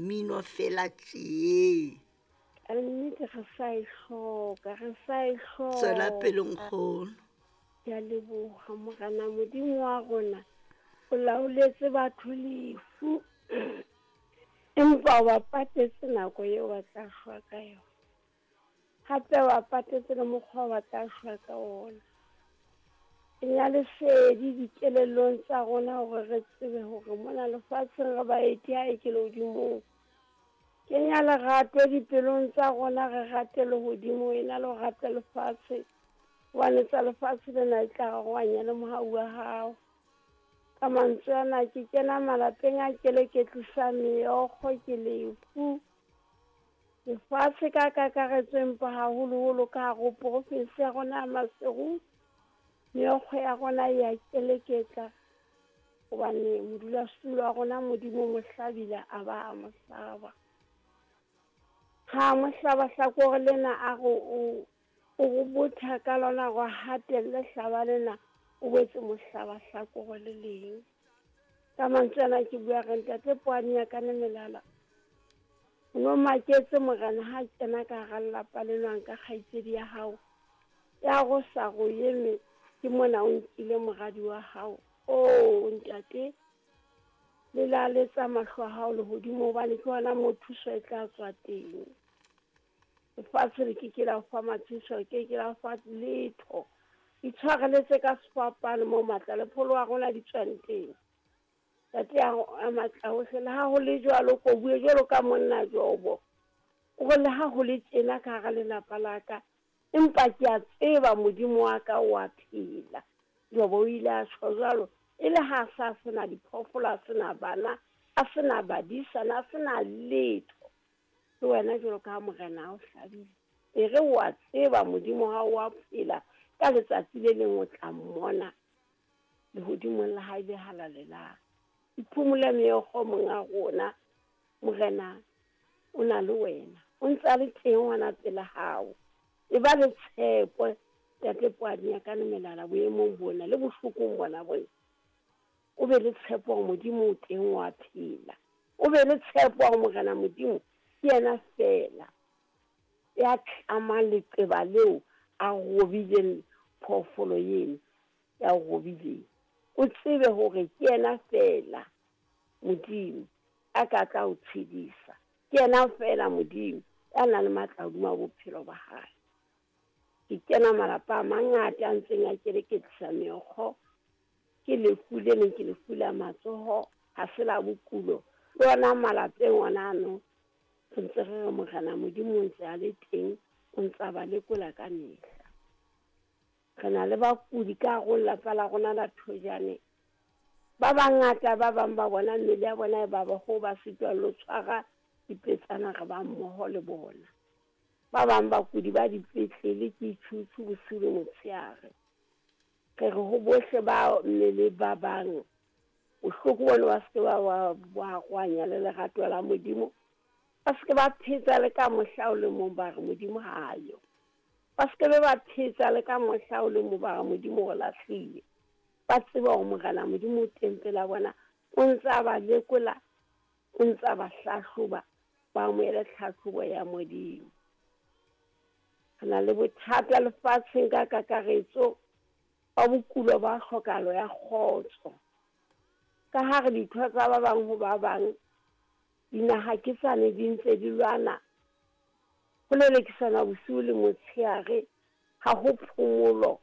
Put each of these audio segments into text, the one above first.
mmino fela tjee. Ka nnete re sa e hloka, re sa e hloka. Tswela pele nkgono. Ke a leboha Morena Modimo wa rona. O laoletse batho lefu. Empa o ba patetse nako eo ba tla shwa ka yona. Hape o ba patetse le mokgwa ba tla shwa ka ona. Kenya lesedi dikelellong tsa rona hore re tsebe hore mona lefatsheng re baeti ha e ke lehodimong. Kenya lerato dipelong tsa rona, re rate lehodimo ena le ho rata lefatshe. Hobane tsa lefatshe lena e tla rarohanya le mohau wa hao. Ka mantswe ana ke kena malapeng a keleketlisa meokgo ke lefu. Lefatshe ka kakaretso empa haholoholo ka hare ho profinsi ya rona ya Maseru. Meokgo ya rona e ya keleketla hobane modulasetulo wa rona Modimo mo hlabile a ba a mo hlaba. Ha mo hlaba hlakore lena a re o o botha ka lona hore a hatelle hlaba lena, o boetse mo hlaba hlakore le leng. Ka mantswe ana ke bua re ntate Poane ya ka melala. O no maketse morena ha kena ka hara lelapa leno a nka kgaitsedi ya hao. Ya go sa go eme ke mona o nkile moradi wa hao. Oh ntate, le laletsa mahlo a hao lehodimo hobane ke hona moo thuso e tla tswa teng. Lefatshe le ke ke la o fa matshediso, le ke ke la o fa letho. Itshwareletse ka sefapano moo matla le pholo wa rona di tswang teng. Ntate a matla ohle, le ha ho le jwalo, ko bue jwalo ka monna Jobo. O re le ha ho le tjena ka hara lelapa la ka, empa ke a tseba Modimo wa ka o a phela. Jobo o ile a tjho jwalo, e le ha sa sena diphoofolo, a sena bana, a sena badisana, a sena letho. Le wena jwalo ka ha morena a o hlabile, e re wa tseba Modimo ha o a phela, ka letsatsi le leng o tla mmona lehodimong la hae le halalelang. Iphumule meokgo monga rona, morena o na le wena, o ntse a le teng hona pela hao. E ba le tshepo ntate Poane ya ka melala boemong bona le bohlokong bona bona. O be le tshepo hore Modimo o teng wa phela. O be le tshepo hore morena Modimo ke yena fela ya tlamang leqeba leo a robileng phoofolo eno ya robileng. O tsebe hore ke yena fela Modimo a ka tla o tshedisa. Ke yena fela Modimo ya nang le matla hodima bophelo ba hae. Ke kena malapa a mangata a ntseng a keleketlisa meokgo. Ke lefu le leng, ke lefu la matsoho, ha se la bokulo. Le ona malapeng ona ano, re ntse re re morena Modimo o ntse a le teng, o ntse a ba lekola ka mehla. Re na le bakudi ka hare ho lelapa la rona la Thojane. Ba bangata ba bang ba bona mmele ya bona e baba ho ba sitwa le ho tshwara dipetsana, re ba mmoho le bona. Ba bang bakudi ba dipetlele ke itjhutjhu bosiu le motshehare. Re re ho bohle ba mmele ba bang, bohloko bona ba se ke ba ba rohanya le lerato la Modimo. Ba se ke ba phetsa le ka mohla o le mong ba re Modimo ha yo. Ba se ke be ba phetsa le ka mohla o le mong ba re Modimo o lahlile. Ba tsebe hore morena Modimo o teng pela bona, o ntse a ba lekola, o ntse a ba hlahloba, ba amohele tlhahlobo ya Modimo. Re na le bothata lefatsheng ka kakaretso ba bokulo ba hlokahalo ya kgotso. Ka ha re ditho tsa ba bang ho ba bang, dinaha ke tsane di ntse di lwana, ho lelekisana bosiu le motshehare, ha ho phomolo.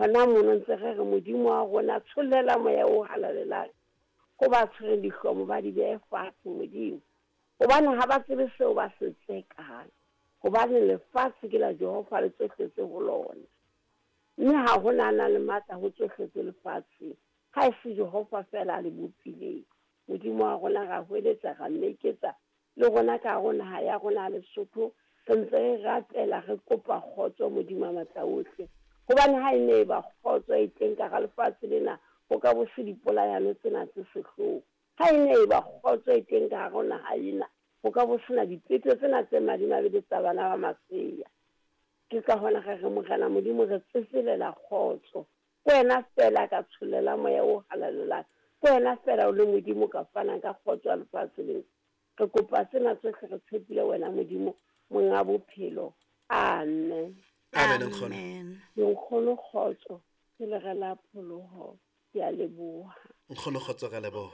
Hona mono ntse re re Modimo wa rona tshollela moya o halalelang ho ba tshwereng dihlomo ba di behe fatshe Modimo. Hobane ha ba tsebe seo ba se tsekang, hobane lefatshe ke la Jehova le tsohle tse ho lona. Mme ha ho na le matla ho tsohle tse lefatsheng, ha e se Jehova fela a le bopileng. Modimo wa rona ra hweletsa, ra mmeketsa le rona ka hare ho naha ya rona ya Lesotho, re ntse re rapela, re kopa kgotso Modimo a matla ohle. Hobane ha e ne e ba kgotso e teng ka hara lefatshe lena, ho ka bo se dipolayano tsena tse sehloho. Ha e ne e ba kgotso e teng ka hare ho naha ena, ho ka bo sena dipeto tsena tse madimabe tsa bana ba masea. Ke ka hona re re morena Modimo re tsetselela kgotso. Ke wena fela ka tshollela moya o halalelang. Ke wena fela o le Modimo ka fanang ka kgotso ya lefatshe lena. Re kopa tsena tsohle re tshepile wena Modimo, Monga bophelo. Amen. Amen, nkgono. Amen. Nkgono kgotso, ke lere la pholoho. Ke a leboha. Nkgono kgotso, re a leboha.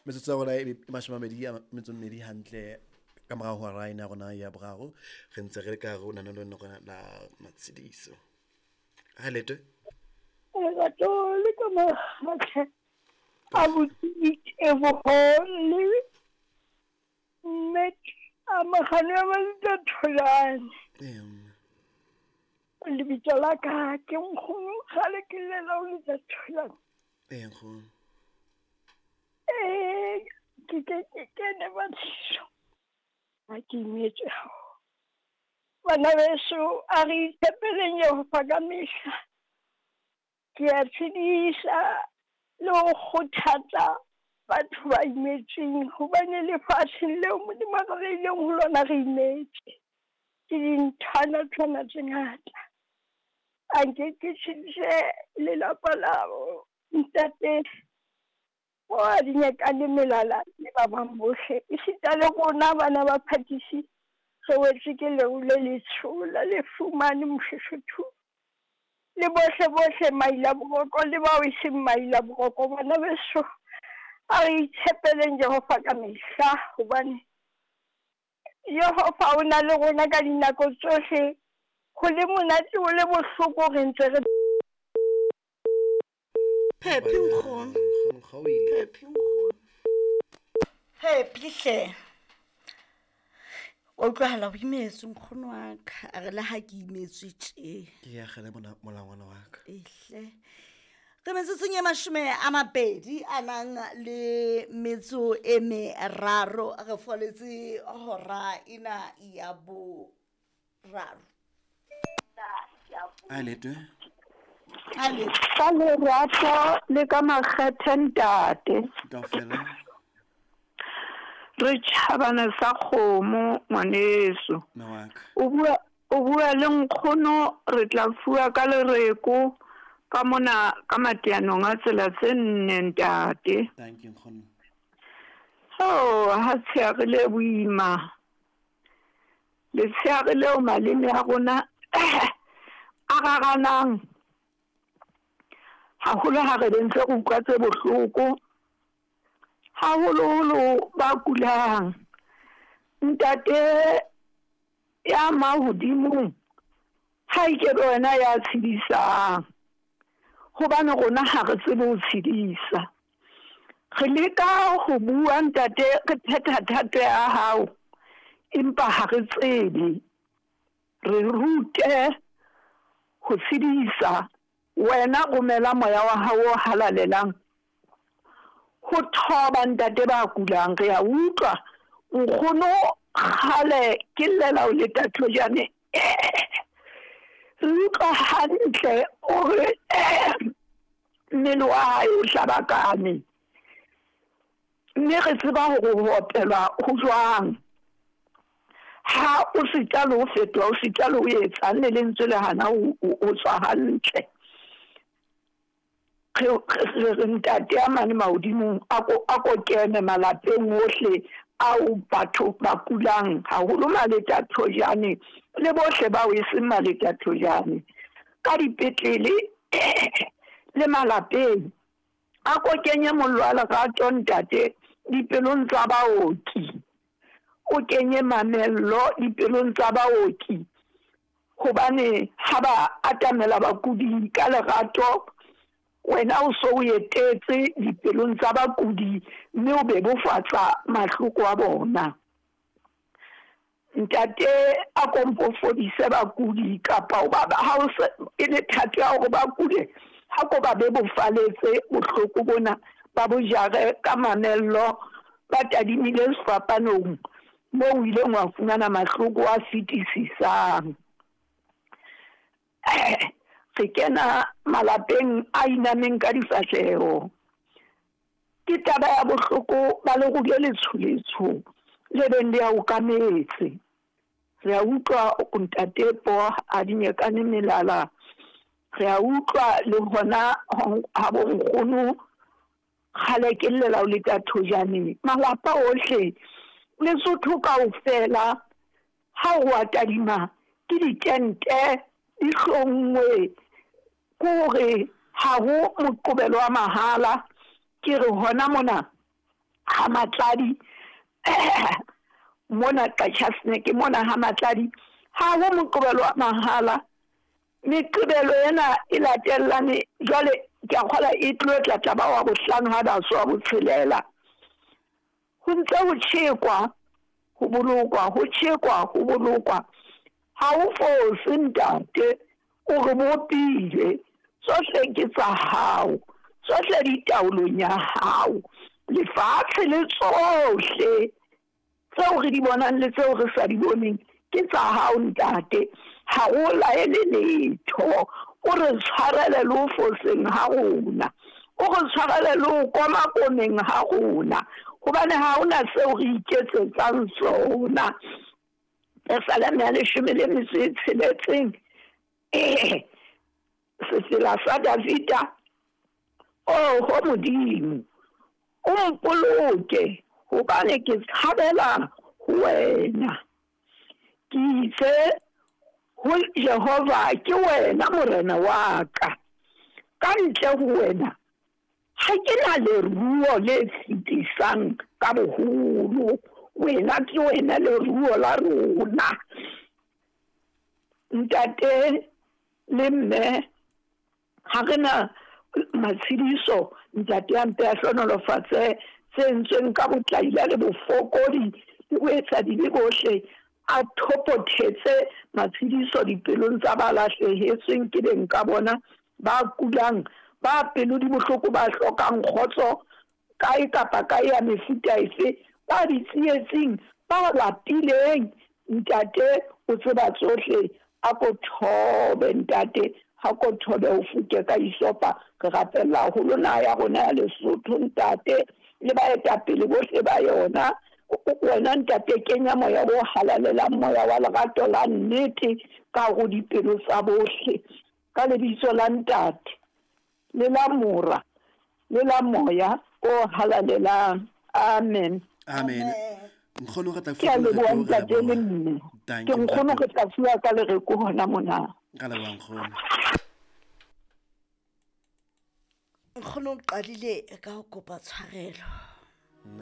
Metsotso ya rona e 20 a metso mmedi hantle ka morao ho hora ena ya rona ya boraro. Re ntse re le ka hare ho lenaneo lena rona la matshediso. Ha letwe. Lerato le ka makgathe a botse le mme a magano ya Malita Tholane. Ee, mme. Lebitso la ka ke nkgono kgale ke llela ho Lita Tholane. Ee, nkgono. Ee, ke ke ke kene batliso. Ha ke imetswe haholo. Bana beso, a re itshepeleng Jehova ka mehla. Ke a tshedisa le ho kgothatsa batho ba imetsweng hobane lefatsheng leo Modimo a re beileng ho lona re imetse ke dinthwana-thwana tse ngata. A nke ke tshedise lelapa la ntate o a dinyakane melala le ba bang bohle, esita le rona bana ba Phakisi re wetswe ke leru le letsho la lefu mane Moshoshothu. Le bohle bohle maila boroko le bao e seng maila boroko, bana beso, a re itshepeleng Jehova ka mehla, hobane Jehova o na le rona ka dinako tsohle, ho le monate ho le bohloko re ntse re. Phephi nkgono. Nkgono ga o ile. Phephi nkgono. Phephi hle. Wa utlwahala o imetswe nkgono wa ka. A re le ha ke imetswe tje. Ke ya gele molangwana wa ka. Ehle. Re metsotsong e 20 a nang le metso e meraro re foletse hora ena ya boraro. A letwe. A letwe. Ka lerato le ka makgethe ntate. Kaofela. Re tjhabana sa kgomo ngwaneso. Mme wa ka. O bua, o bua le nkgono re tla fuwa ka lereko ka mona ka mateanong a tsela tse nne ntate. Thank you nkgono. Oh, ha tsheare le boima. Letsheare leo maleme a rona a raranang haholo ha re ntse re utlwa tse bohloko, haholoholo ba kulang. Ntate ya mahodimong ha e ke be wena ya tshedisang, hobane rona ha re tsebe ho tshedisa. Re leka ho bua ntate, re phetha thato ya hao, empa ha re tsebe. Re rute ho tshedisa. Wena romela moya wa hao o halalelang ho thoba ntate ba kulang. Re a utlwa nkgono kgale ke llela ho leta thojane. Re utlwa hantle hore mmele wa hae o hlabakane, mme re tseba hore ho opelwa ho jwang. Ha o sita le ho fetoha, o sita le ho etsang, le lentswe le hana ho tswa hantle. Re re ntate a mane mahodimong a ko kene malapeng ohle ao batho ba kulang, haholo maleta thojane le bohle bao e seng maleta thojane, ka dipetlele le malapeng. A ko kenye mollo wa lerato ntate dipelong tsa baoki, o kenye mamello dipelong tsa baoki, hobane ha ba atamela bakudi ka lerato, wena o so o etetse dipelong tsa bakudi mme o bebofatsa mahloko a bona. Ntate a kompo fodise bakudi, kapa o ba ha o se e le thato ya hore ba kude, ha ko ba bebofaletse bohloko bona, ba bo jare ka mamello, ba tadimile sefapanong moo o ileng wa fumana mahloko a fetisisang. Re kena malapeng a inameng ka difahleho. Ke taba ya bohloko ba leru le letsho-letsho le beng le a okametse. Re a utlwa ntate Po a dinyekane melala. Re a utlwa le hona ha bonkgono Kgale ke llela o leta thojaneng. Malapa ohle, Lesotho kaofela, ha o a tadima ke ditente di hlonngwe, ke hore ha ho Moqobelo wa mahala. Ke re hona mona ha Matladi, mona Qacha's Nek mona ha Matladi, ha ho Moqobelo wa mahala. Meqebelo ena e latellane jwale ke a kgola e tlo tla tla ba wa bohlano ha ba so wa botshelela. Ho ntse ho tjhekwa, ho bolokwa, ho tjhekwa, ho bolokwa. Ha o fose ntate, o re bopile, tsohle ke tsa hao, tsohle di taolong ya hao. Lefatshe le tsohle tseo re di bonang le tseo re sa di boneng ke tsa hao ntate. Ha o laele letho, o re tshwarele le ho foseng ha rona, o re tshwarele le ho komakomeng ha rona, hobane ha hona seo re iketsetsang sona. Pesaleme ya 16, sefela sa Davida. Oho Modimo, o mpoloke, hobane ke tshabela ho wena. Ke itse ho Jehova, ke wena Morena wa ka. Ka ntle ho wena ha ke na leruo le fetisang ka boholo. Wena ke wena leruo la rona. Ntate le mme, ha re na matshediso, ntate a mpe a hlohonolofatse tse entsweng ka botlaila le bofokodi le boetsadibe bohle, a thopothetse matshediso dipelong tsa ba lahlehetsweng ke beng ka bona, ba kulang, ba pelo di bohloko, ba hlokang kgotso kae kapa kae ya mefuta efe, ba ditsietsing, ba lapileng. Ntate o tseba tsohle, a ko thobe ntate, ha ko thobe o fuke ka isopa. Re rapella haholo naha ya rona ya Lesotho ntate, le baetapele bohle ba yona. Wena ntate, kenya moya o halalelang, moya wa lerato la nnete ka hare ho dipelo tsa bohle. Ka lebitso la ntate, le la Mora, le la Moya o halalelang. Amen. Amen. Nkgono re tla Ke a fuwa ka leboha lereko, re ntate le leboha. mme. Thank Ke you, nkgono ntate. re tla fuwa ka lereko hona mona. Ka leboha nkgono. Nkgono o qadile ka ho kopa tshwarelo.